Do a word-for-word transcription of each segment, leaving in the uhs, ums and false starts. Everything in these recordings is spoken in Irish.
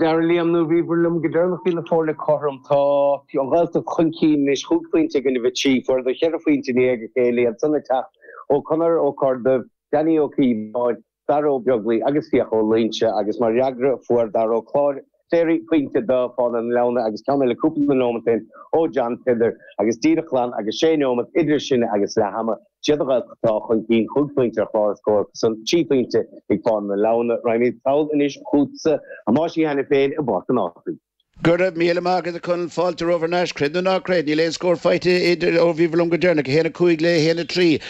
Dar liom nó bhíobhair liom go deireanach bhí na foirne cothrom tá an Ghaeltacht chun cinn anois chúig phointe i gcoinne a trí fuaireadar cheithre phointe i ndiaidh a chéile iad san ag teacht ó Conor Ó Corrduibh, Danny Ó Cíobháin, Dara Ó Beaglaoi agus Fiach Ó Loingsigh agus mar fhreagra fuair Dara Ó Cláir Cléirigh pointe do Fánaithe na Leamhna agus ceann eile cúpla nóiméad ó shin ó John Peadar agus díreach glan agus sé nóiméad idir sin agus leath ama. Siad an Ghaeltacht atá chun cinn chúig phointe ar chlár scór san trí phointe ag Fánaithe na Leamhna. Raghaimid sall anois chugatsa a Thomáis Uí Hainiféin i bPáirc an Ásaigh. Go raibh míle maith agat a Chonaill fáilte romhaibh thar n-ais, creid nó ná creid, níl aon scór faighte idir ó bhíobhair liom go deireanach, a haon a cúig le a haon a trí.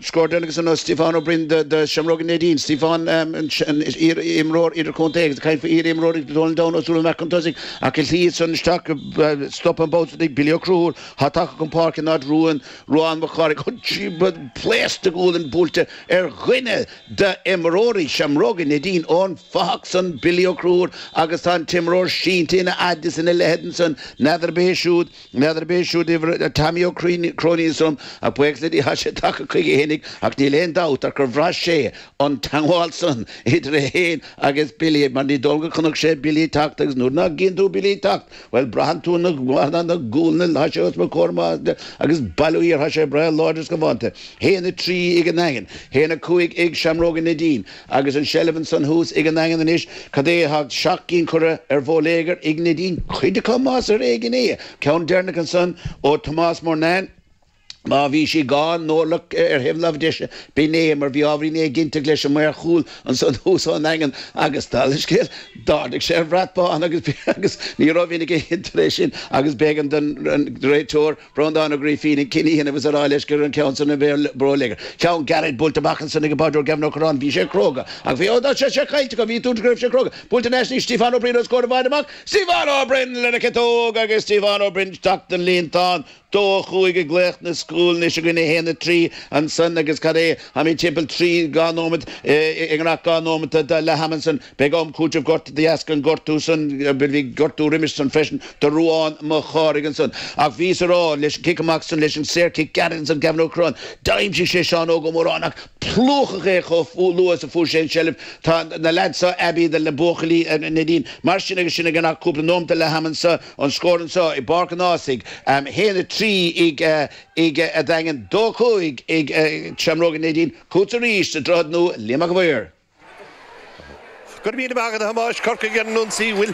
Scór deireanach ansan ó Stiofán Ó Broin do Seamróga Neidín. Stiofán an iar-imreoir idirchontae agus ag caint faoi iar-imreoirí Donald Down Ó Súilleabháin amach chun tosaigh ach an tslí san isteach stop an babhta ag Billy Ó Conchúir atá tagtha chun páirce in áit Ruan Ruán Mac Cárthaigh. Pléasc de ghualainn buailte ar dhuine d'imreoirí Seamróga Neidín ón bhfathach san Billy Ó Conchúir agus tá an t-imreoir sínte ina fhad is ina leithead ansan, n'fheadar ab é siúd, n'fheadar ab é siúd uimhir Tommy Ó Cróinín ansan, ach buíochas le Dia tá sé tagtha chuige fhéinig ach níl aon dabht ach gur bhraith sé an teangmháil san idir é féin agus Billy mar ní dóigh liom gur chonaic sé Billy ag teacht agus nuair nach gcíonn tú Billy ag teacht, bhuel braitheann tú na na gualainn, tá sé os mo chomhair amach agus bail ó Dhia air, tá sé breá láidir is galánta. Haon a trí ag an nDaingean, haon a cúig ag Seamróga Neidín agus an seilbh ansan thuas ag an nDaingean anois, cad é atá seacht gcinn curtha ar bhóiléagar ag Neidín, cuid acu más ar éigean é. Ceann deireanach ansan ó Tomás Murnane. Má bhí sí dhá n-orlach ar thaobh na láimhe deise, b'in é mar bhí ábhairín éiginnteacht leis an maor chúil ansan thuas ón nDaingean agus dála an scéil, d'ardaigh sé an brat bán agus agus ní raibh aige tar éis sin agus b'éigean don réiteoir Breandán Ó Grífín an cinneadh a dhéanamh is a rá leis gur an ceann san a bhí bóiléagar. Ceann gairid buailte amach ansan ag an báireoir Gavin Ó Curráin, bhí sé cróga ach bhí, ó tá sé sé caillte acu, bhí dúirt go raibh sé cróga. Buailte in aisne ag Stiofán Ó Briain os comhair i bhfad amach, Stiofán Ó Broin lena chiotóg agus Stiofán Ó Broin isteach don líontán. Dó a chúig ag glaoch na scúl anois againn a haon a trí ansan agus cad é, táimid timpeall trí dhá nóimeat i ngnach dhá nóimeat de leath ama ansan. Beidh am cúitimh gorta de dheasca an gortú san, bhí gortú roimis san freisin do Ruán Mac Chárthaigh ansan. Ach bhíos a rá leis an cic amach san, leis an saorchic gairid ansan Gavin Ó Curráin, d'aimsigh sé Seán Óg Ó Móráin ach plúchadh é chomh luath is a fuair sé an tseilbh. Tá na leaids seo aibí le buachaillí Neidín. Mar sin agus sin ag an cúpla nóimeat de leath ama anso, an scór anso i bPáirc an Ásaigh, haon a trí ag ag an Daingean, dó cúig ag Seamróga Neidín, chugatsa arís sa Droichead Nua, Liam Mac a' Mhaoir. Go raibh míle maith agat a Thomáis. Corcaigh ar an ionsaí. Bhfuil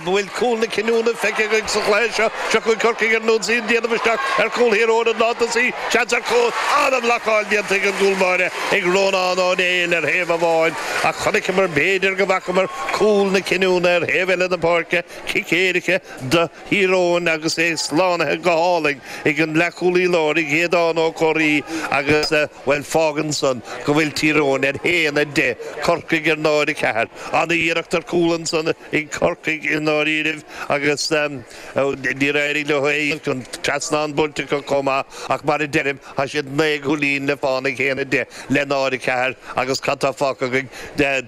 bhfuil cúl na cinniúna feicthe againn sa chluiche seo? Seo chugainn Corcaigh ar an ionsaí, an déanamh isteach ar chúl Thír Eoghain an lántosaí. Seans ar chúl. An-bhlocáil déanta ag an gcúl báire ag Rónán Ó Néill ar thaobh amháin ach chonaiceamar, b'fhéidir go bhfacamar cúl na cinniúna ar thaobh eile na páirce. Cic éirice do Thír Eoghain agus é slánaithe go hálainn ag an leathchúlaí láir, ag Aodán Ó Comhraí agus, bhuel, fágann san go bhfuil Tír Eoghain ar haon a deich, Corcaigh ar náid a ceathair. An-iarracht ar chúl ansan ag Corcaigh i ndáiríribh agus níor éirigh leo é. An trasnán buailte acu chomh maith ach mar a deirim, tá siad naoi gcúilín le fán ag haon a deich le náid a ceathair agus cad tá fágtha againn?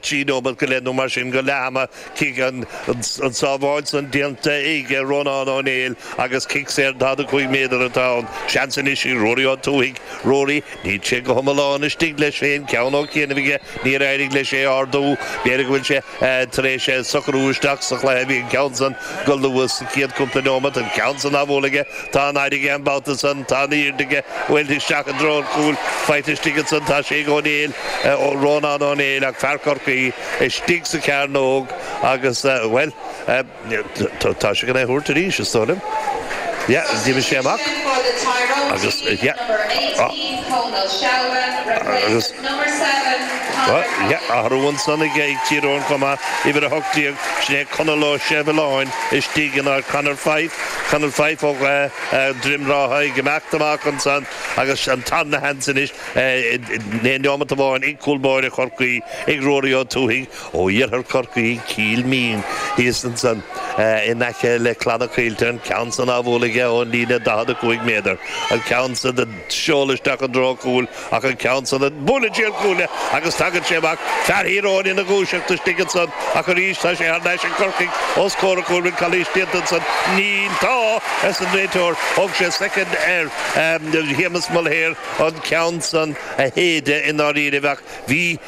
Trí nóiméad go leith nó mar sin go leath ama. Cic an tsábháil san déanta ag Rónán Ó Néill agus cic saor daichead a cúig méadar atá ann. Seans anois ag Ruairí Ó Tuathaigh. Ruairí, níl sé go hiomlán istigh leis féin, ceann ó chianaibh aige, níor éirigh leis é a ardú. B'fhéidir go bhfuil sé tar éis socrú isteach sa chluiche. Bhí an ceann san go luath sa chéad cúpla nóiméad, an ceann san á bhualadh aige. Tá an fhaid aige an babhta san, tá an airde aige, bhuel, isteach i dtreo an chúil, faighte istigh ansan, tá sé ag Ó Néill, ó Rónán Ó Néill ach fear Chorcaí istigh sa chearnóg agus, bhuel, tá sé chun é a thabhairt arís, is dóigh liom. Yeah, d'imigh sé amach agus, yeah, agus, yeah, athrú ansan ag Tír Eoghain chomh maith, uimhir a hocht déag, sin é Conall Ó Seirealláin istigh in áit Conor Fife, Conor Fife ó Dhroim Rátha ag imeacht amach ansan agus an tarna sheans anois in aon neomat amháin ag cúl báire Chorcaí, ag Ruairí Ó Tuathaigh ó iarthar Chorcaí, Cill Mín, thíos ansan in aice le Clanna Caoilte, an ceann san á bhualadh aige ón líne daichead a cúig cúig méadar an ceann san a sheol isteach i dtreo cúil ach an ceann san buaileann sé an cuaille agus tagann sé amach fear Thír Eoghain ina dhúiseacht istigh ansan ach arís tá sé thar n-ais ag Corcaigh os comhair an chúil bhfuil calaois déanta ansan níl tá arsa an réiteoir thug sé soicind ar Shéamus Mulhare an ceann san a shéideadh i ndáiríre ach bhí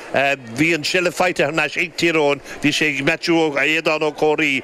bhí an seilbh faighte thar n-ais ag Tír Eoghain bhí sé ag Matthew Aodán Ó Comhraí